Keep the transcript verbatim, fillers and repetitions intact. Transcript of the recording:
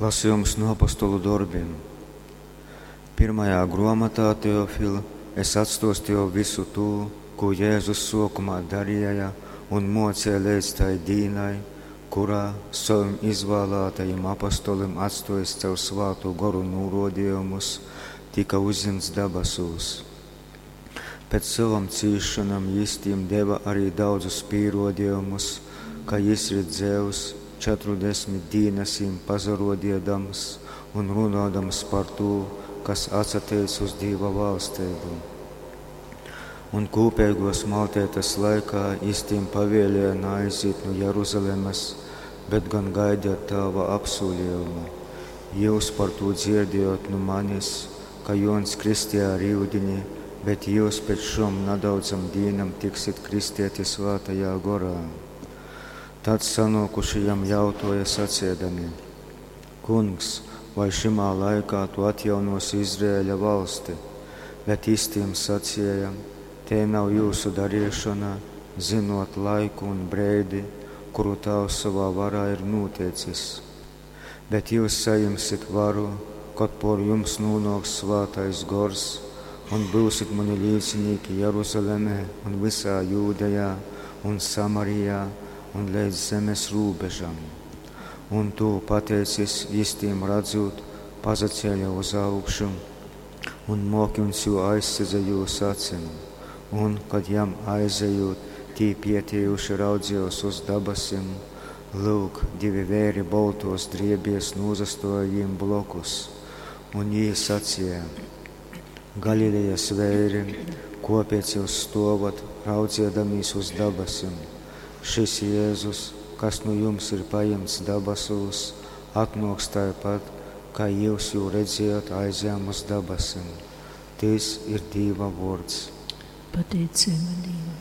Lasījums no apostolu dorbiem. Pirmajā grāmatā, Teofil, es atstostīju visu to, ko Jēzus sākumā darīja un mocīja līdz tai dīnai, kurā saviem izvēlētajiem apostoliem atstājis caur svātu goru norodījumus, tika uzņemts dabasūs. Pēc savam cīšanām jis tiem deva arī daudzus pierodījumus, ka jis ir dzēvs, četrdesmit dīnas jim pazarodīdams un runādams par to, kas atsateic uz Dīva valstību. Un kūpīgos maltētas laikā jis tiem pavēlēja neaiziet no Jeruzalemes, bet gan gaidīt Tēva apsolījumu. Jūs par to dzirdējot no manis, ka Jons kristīja ar ūdeni, bet jūs pēc šom nedaudzam dīnam tiksit kristieti svētajā gorā. Tad sanākušajam jautāja sacīdami: Kungs, vai šimā laikā tu atjaunosi Izraēļa valsti? Bet jis tiem sacīja: Te nav jūsu darīšana, zinot laiku un breidi, kuru Tēvs savā varā ir noteicis. Bet jūs saņemsiet varu, kad por jums nonāks svētais gors, un būsiet mani liecinieki Jeruzalemē un visā Jūdejā un Samarijā un līdz zemes robežam. Un to pateicis, jis tiem redzot, pazacēla uz augšu, un mokins jū aizsedza jūs acim. Un, kad jam aizejot, tī pietiejuši raudzījos uz dabasim, lūk, divi vēri boltos driebies nozastoja jiem blokus, un jī sacīja: Galilejas vēri, kopēc jūs stovat, raudziedamīs uz dabasim? Šis Jēzus, kas nu jums ir paņemts dabasūs, atnāks tāpat, kā jūs jū redzējāt aizjām uz dabasim. Tis ir Dīva vārds. Pateicība Dievam.